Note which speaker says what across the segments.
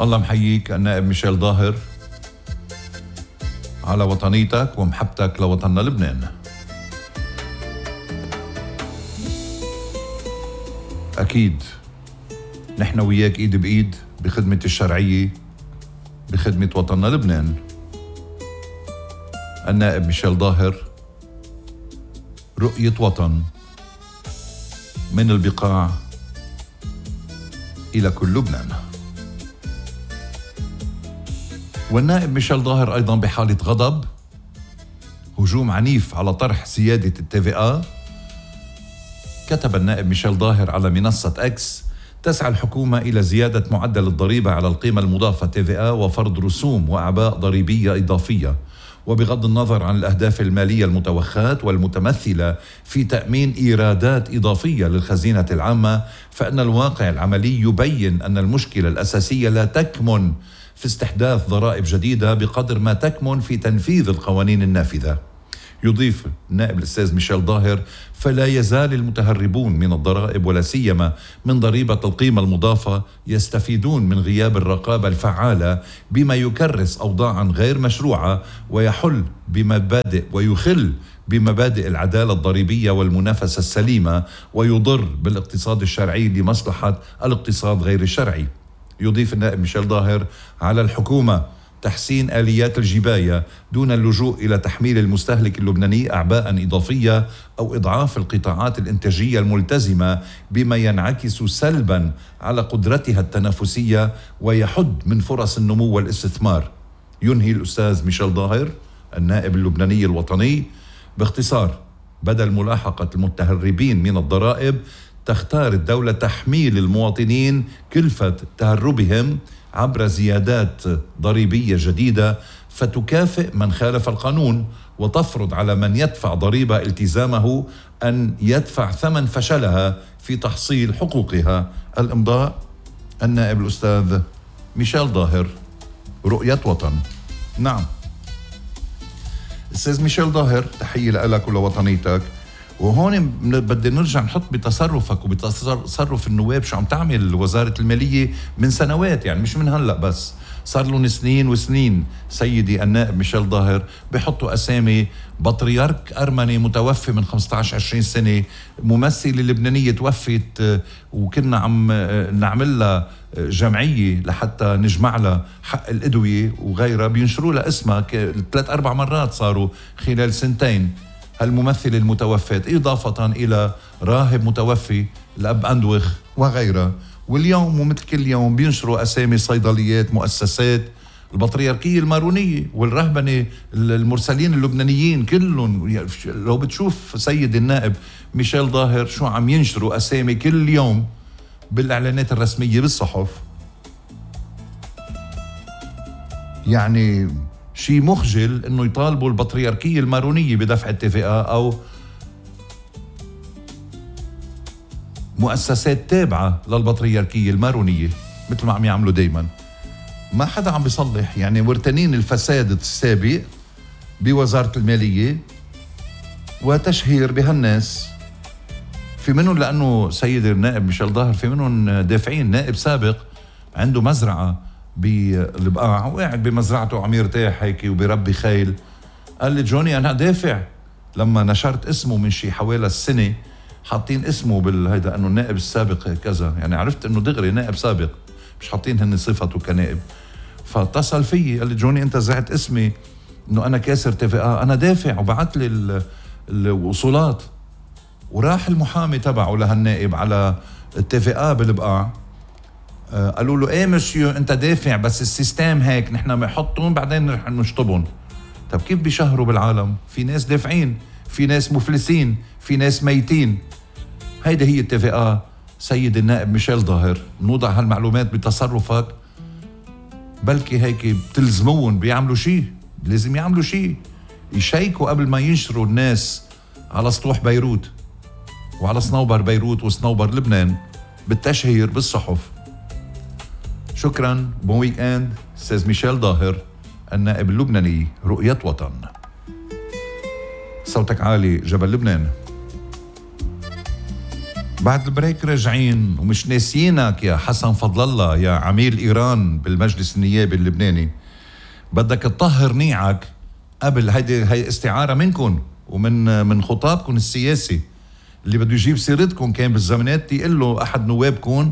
Speaker 1: الله محييك النائب ميشيل ظاهر على وطنيتك ومحبتك لوطننا لبنان. أكيد نحن وياك إيد بإيد بخدمة الشرعية بخدمة وطننا لبنان. النائب ميشيل ظاهر، رؤية وطن من البقاع إلى كل لبنان. والنائب ميشيل ظاهر أيضا بحالة غضب، هجوم عنيف على طرح زيادة الTVA. كتب النائب ميشيل ظاهر على منصة إكس: تسعى الحكومة إلى زيادة معدل الضريبة على القيمة المضافة TVA وفرض رسوم وأعباء ضريبية إضافية، وبغض النظر عن الأهداف المالية المتوخاة والمتمثلة في تأمين إيرادات إضافية للخزينة العامة، فإن الواقع العملي يبين أن المشكلة الأساسية لا تكمن في استحداث ضرائب جديدة بقدر ما تكمن في تنفيذ القوانين النافذة. يضيف النائب الأستاذ ميشيل ظاهر: فلا يزال المتهربون من الضرائب ولا سيما من ضريبة القيمة المضافة يستفيدون من غياب الرقابة الفعالة، بما يكرس أوضاعا غير مشروعة ويخل بمبادئ العدالة الضريبية والمنافسة السليمة، ويضر بالاقتصاد الشرعي لمصلحة الاقتصاد غير الشرعي. يضيف النائب ميشيل ظاهر: على الحكومة تحسين آليات الجباية دون اللجوء إلى تحميل المستهلك اللبناني أعباء إضافية أو إضعاف القطاعات الإنتاجية الملتزمة، بما ينعكس سلبا على قدرتها التنافسية ويحد من فرص النمو والاستثمار. ينهي الأستاذ ميشيل ظاهر النائب اللبناني الوطني: باختصار، بدل ملاحقة المتهربين من الضرائب تختار الدولة تحميل المواطنين كلفة تهربهم عبر زيادات ضريبية جديدة، فتكافئ من خالف القانون وتفرض على من يدفع ضريبة التزامه أن يدفع ثمن فشلها في تحصيل حقوقها. الإمضاء النائب الأستاذ ميشيل ظاهر، رؤية وطن. نعم أستاذ ميشيل ظاهر، تحية لك ولوطنيتك. وهون بدي نرجع نحط بتصرفك وبتصرف النواب شو عم تعمل وزارة المالية من سنوات، يعني مش من هلأ بس، صار لهم سنين وسنين. سيدي النائب ميشيل ظاهر بيحطوا أسامي بطريرك أرمني متوفي من 15-20 سنة، ممثلة لبنانية توفت وكنا عم نعمل لها جمعية لحتى نجمع لها حق الأدوية وغيرها، بينشروا لها اسمها 3-4 مرات صاروا خلال سنتين. هالممثلة المتوفات إضافة إلى راهب متوفي الأب أندوخ وغيرها. واليوم ومثل كل يوم بينشروا أسامي صيدليات، مؤسسات، البطريركية المارونية والرهبنة، المرسلين اللبنانيين كلهم. لو بتشوف سيد النائب ميشيل ظاهر شو عم ينشروا أسامي كل يوم بالإعلانات الرسمية بالصحف، يعني شيء مخجل انه يطالبوا البطريركية المارونية بدفع الTVA او مؤسسات تابعة للبطريركية المارونية مثل ما عم يعملوا دايما. ما حدا عم بيصلح، يعني مرتنين الفساد السابق بوزارة المالية وتشهير بهالناس. في منهم لأنه سيد النائب ميشيل ظاهر في منهم دافعين، نائب سابق عنده مزرعة بالبقاع وقاعد بمزرعته عم يرتاح هيك وبيربي خيل، قال لي جوني أنا دافع. لما نشرت اسمه من شي حوالي السنة حاطين اسمه بالهيدا أنه النائب السابق كذا، يعني عرفت أنه دغري نائب سابق، مش حاطين هن صفته كنائب. فاتصل فيي قال لي جوني أنت زعت اسمي أنه أنا كاسر TVA، أنا دافع، وبعت لي الوصولات. وراح المحامي تبعه لهالنائب على TVA بالبقاع، قالوا له ايه مسيو انت دافع بس السيستم هيك نحن بنحطهم بعدين رح نشطبهم. طب كيف بيشهروا بالعالم؟ في ناس دافعين، في ناس مفلسين، في ناس ميتين. هيدا هي الTVA. سيد النائب ميشيل ظاهر، نوضع هالمعلومات بتصرفك، بلكي هيك بتلزمون بيعملوا شيء، لازم يعملوا شيء، يشيكوا قبل ما ينشروا الناس على سطوح بيروت وعلى صنوبر بيروت وصنوبر لبنان بالتشهير بالصحف. شكرا، بون ويك اند. استاذ ميشيل ظاهر النائب اللبناني، رؤية وطن. صوتك عالي جبل لبنان. بعد البريك راجعين ومش ناسيينك يا حسن فضل الله يا عميل إيران بالمجلس النيابي اللبناني. بدك تطهر نيعك قبل هي استعارة منكم ومن خطابكم السياسي اللي بده يجيب سيرتكم. كان بالزمانات يقول له أحد نوابكم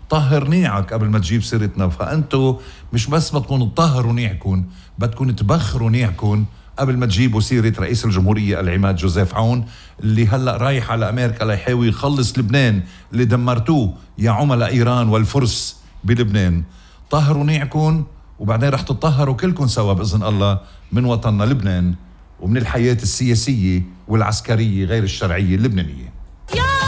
Speaker 1: طهر نيعك قبل ما تجيب سيرتنا. فأنتوا مش بس بدكم تطهروا نيعكم، بدكم تبخروا نيعكم قبل ما تجيبوا سيرة رئيس الجمهورية العماد جوزيف عون اللي هلأ رايح على أمريكا ليحاول يخلص لبنان اللي دمرتوه يا عملاء إيران والفرس بلبنان. طهروا نيعكم وبعدين رح تطهروا كلكم سوا بإذن الله من وطننا لبنان ومن الحياة السياسية والعسكرية غير الشرعية اللبنانية.